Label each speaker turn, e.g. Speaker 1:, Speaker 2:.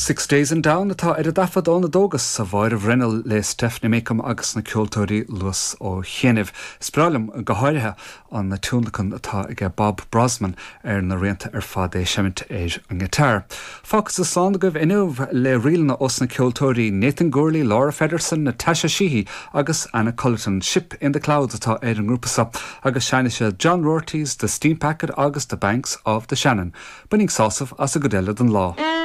Speaker 1: Six Days in Down atá ar an dtaifead óna dtógas sa Mháire Bhruinneall le Stephanie Makem agus na ceoltóirí Luas Ó Chianaibh. Is breá liom go háirithe an tionlacan atá aige Bob Brozman ar na rianta ar fad, é ag seimint ar an ngiotár. Fágfadsa slán agaibh inniu le ríleanna ós na ceoltóirí Nathan Gourley, Laura Feddersen, Natasha Sheehy agus Anna Cullerton. Ship in the Clouds atá ar an ngrúpa seo agus seinnfidh siad John Roarty's The Steam Packet agus The Banks of the Shannon. Bainigí sásamh as an gcuid eile den lá.